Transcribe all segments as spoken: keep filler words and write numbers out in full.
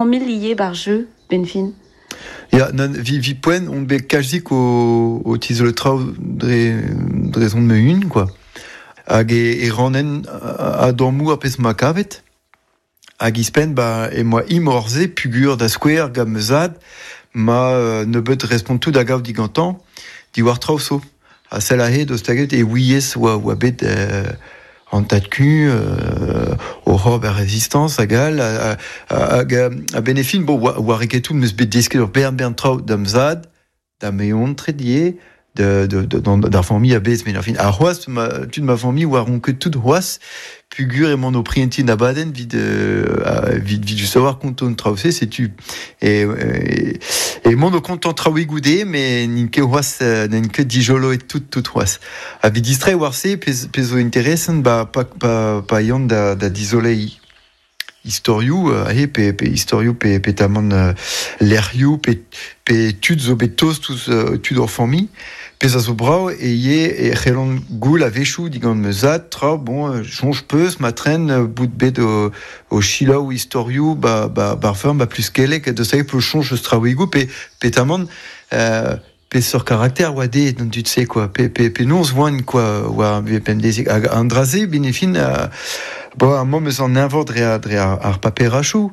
Familh ivez bar jeu, ben fin. Ya, nan, vi, vi poent on bet kalzik o, o tizole traoù dre, dre zon me un, quoi. Hag e, e ranen a, a dormou ar pezh ma kavet. Hag ispen, ba, e moa imorze pugur da skouer gant me zad, ma euh, nebeut respontou da gav digantan, diwar traoù so. Ha sell ahe deus taget e ouiez oa, oa bet euh, an tad-ku, euh, o c'horb ar résistance hag all, hag a benefin, bon, oa, oa reketou meus bet desket ur bern bern traoù d'am zad, da meon tredie, de, de, de, dans, d'ar famille a bez, mais enfin, ar c'hoaz, ma, tud ma famille oa ron ket tout c'hoaz, pugur emañ o prientin abadenn vid, euh, vid, vid just savoir konton traoù-se, setu. Et, et, et mont o kontant traoù goude, mais n'int ket c'hoaz, n'int ket dijolo et tout, tout c'hoaz. A vid distrait war se, pez, pez zo interesant, ba, pa, pa, pa yann da, da dizolei istorioù, euh, pe, pe istorioù pe, pe tamant euh, lec'hioù, pe, pe tud zo bet tost ouzh euh, tud ur familh, pezh a zo brav e ye e c'hellont goul a-wechoù digant me zad, tra, bon, soñj peus, ma tren bout bet o, o chilaou istorioù, ba, ba, bar ferm, ba plus kelek, de sa pe soñj eus traoùigoù, pe, pe tamant, euh, pe sur caractère oa de d'an dud se quoi pe pe pe non voan quoi oa pemdezig hag an draze benefin euh, bo ar mom eus an eñvor dre ar, dre ar, ar paperachoù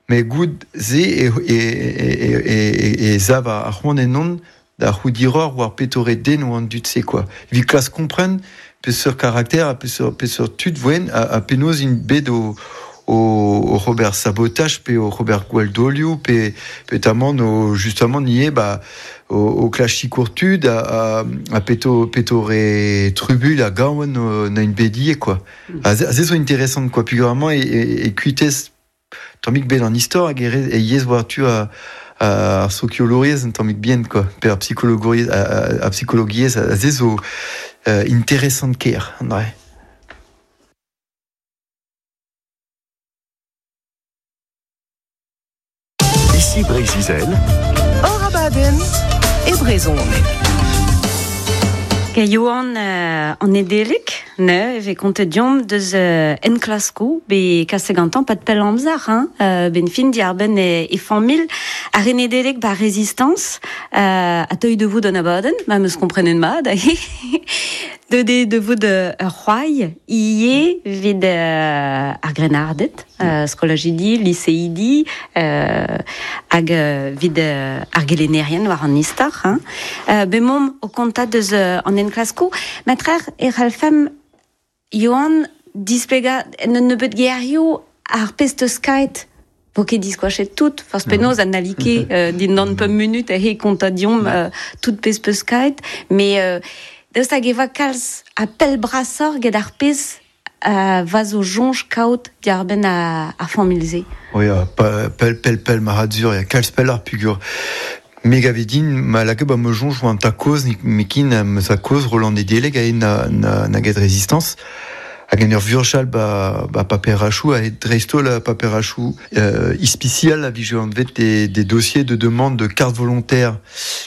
mais goud ze e e e e e, e zav ar c'hoant ennon da c'houdiror war petore den oa an dud se quoi vi klas kompren pe sur caractère ha pe sur pe sur tud voen a, a penaos int bet o o, o Robert Sabotage pe o Robert Gwaldolio pe pe tamant o justement nie ba o, o klachi kourtud a, a, a peto peto re trubul a gaouen o, na une bedie quoi. Mm. A ze zo intéressant quoi puis vraiment e, e, e kuitez tammig bet an istor hag e, e yez war tu a a sociologiezh un tammig bien quoi pe ar psychologiezh a, a, a psychologiezh a ze zo euh, intéressant ker an dre. Ici Breiz-Izel. Hor abadenn e brezhoneg. Ke Johan euh, an edelik, ne, e kontet diomp deus euh, enklasko, be kase gantan pat pell amzer, hein, euh, ben fin diar ben e, e familh, ar en edelik ba résistance, euh, a teuil de vout an abadenn, ma meus komprenen mat, de de de vout de c'hoai, ie vid euh, ar grenardet, euh, skolajidi, lycéidi, euh, hag euh, vid euh, ar gelennerien war an istor, hein. Euh, be mom o kontat deus euh, an enklasko, matrer e c'hallfem Johan displega en un nebeut gerioù ar pezh teus kaet vo ket diskoachet tout, forz penaos an alike euh, dindan pemp munut e kontat diomp euh, tout pezh peus kaet, mais euh, deus hag eva kalz a pell brasor get ar pezh euh, va zo jonj kaout diar-benn a, ar familh-se. Oui, pa, pel, pel, pel, maradzur, ya kalz pell ar pugur. Me gavedin, ma laka ba me jonj oan ta koz, mekin me sa koz Roland Edeleg a na, na, na get résistance. Hag en ur vurchal ba, ba paperachou, a dreistol a paperachou euh, ispicial a vije anvet des, des dossiers de demande de carte volontaire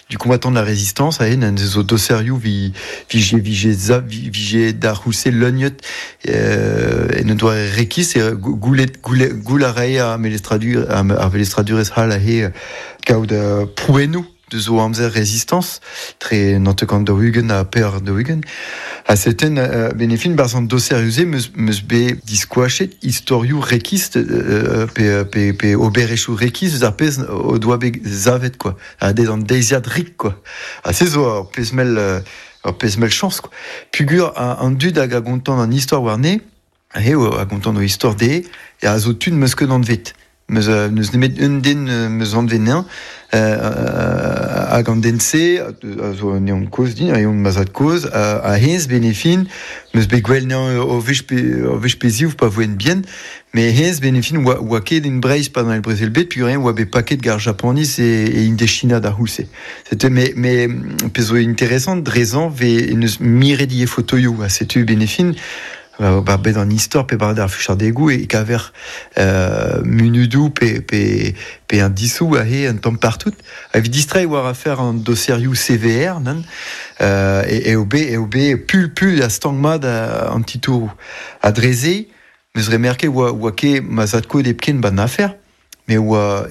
du combattant de la résistance, a en zo doserioù vi, vije, vije za, vi, vije da c'houlse leuniet, euh, en un doare rekis, e goulet, goulet, goul a rae a melestradur, a, a velestradurez hal a he kaout uh, prouennoù de zo amzer résistance, tre nantekant da ugen a per da ugen. A seten euh, benefin barz an doser meus, meus be diskoachet istorioù rekist euh, pe, pe, pe oberechou rekist eus ar pezh o doa bet zavet quoi. A dez an deiziad rik quoi. A se zo ur pezh mell, ur pezh mell chance quoi. Pugur a, an dud hag a gontant an istor warne, he a gontant o istor de, e a zo tud meus ket anvet. Meus, euh, neus nemet un den meus anvet nean, euh, hag an den se, a zo neon koz din, a eon mazad koz, a, a hens benefin, meus bet gwell nean o vech pe, o vech peziv pa voen bien, mais hens benefin oa, oa ket en Breizh pa dans el Brezel bet, puis rien oa bet paket gar Japanis e, e Indechina da c'houlse. C'était, mais, mais, pezh zo intéressant, drezan ve neus miret die fotoioù, a setu benefin, ba, ba bet an istor pe bar ar fuchardegou e kaver euh, munudou pe, pe, pe un disou a he un tamm partout. A evit distrait war a faire an doserioù C V R, nan, euh, e, e o be, e o be pul pul a stang mat a, an titourou. A dreze, meus remerke oa, oa ket ma zad-kozh hepken ban afer, mais oa